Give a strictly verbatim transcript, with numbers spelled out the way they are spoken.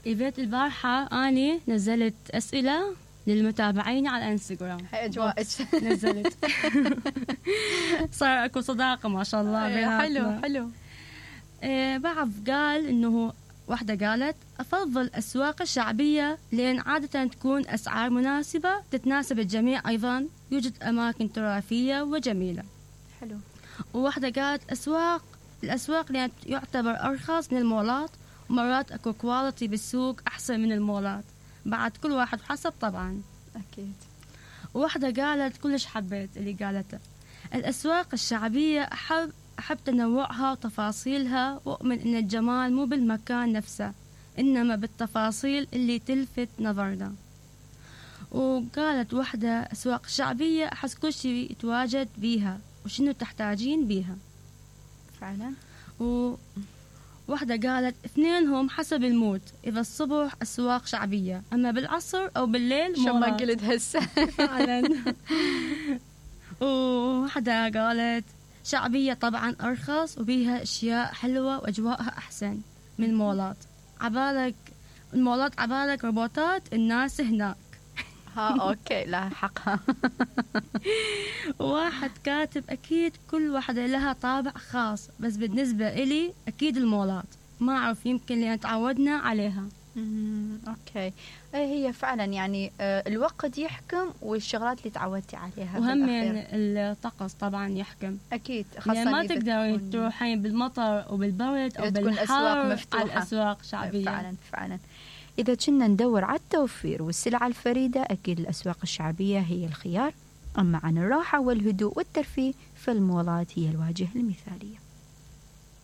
إيفيت البارحة أني نزلت أسئلة للمتابعين على الانستغرام. هاي أجواءك. نزلت. صار أكو صداقة ما شاء الله بيناتنا. حلو حلو. إيه بعض قال إنه واحدة قالت أفضل الأسواق الشعبية لأن عادة تكون أسعار مناسبة تتناسب الجميع، أيضا يوجد أماكن تراثية وجميلة. حلو. وواحدة قالت أسواق الأسواق لأن يعتبر أرخص من المولات، ومرات أكو كواليتي بالسوق أحسن من المولات، بعد كل واحد حسب طبعا. أكيد. وواحدة قالت كلش حبيت اللي قالته، الأسواق الشعبية أحب أحب تنوعها وتفاصيلها، وأؤمن إن الجمال مو بالمكان نفسه إنما بالتفاصيل اللي تلفت نظرنا. وقالت واحدة أسواق شعبية أحس كل شيء يتواجد بيها وشنو تحتاجين بيها فعلا. وواحدة قالت اثنينهم حسب المود، إذا الصبح أسواق شعبية أما بالعصر أو بالليل شو ما قلت هسه. فعلا. وواحدة قالت شعبية طبعا أرخص وبيها أشياء حلوة وأجواءها أحسن من المولات، عبالك المولات عبالك روبوتات، الناس هناك. ها أوكي لا حقها. واحد كاتب أكيد كل واحدة لها طابع خاص، بس بالنسبة إلي أكيد المولات، ما أعرف يمكن لأن تعودنا عليها. أوكي. هي فعلا يعني الوقت يحكم والشغلات اللي تعودتي عليها، وهم الطقس طبعا يحكم أكيد، خاصة يعني ما تقدرين تروحين بالمطر وبالبرد أو بالحر على الأسواق شعبية. فعلا فعلا. إذا كنا ندور على التوفير والسلع الفريدة أكيد الأسواق الشعبية هي الخيار، أما عن الراحة والهدوء والترفيه فالمولات هي الواجهة المثالية.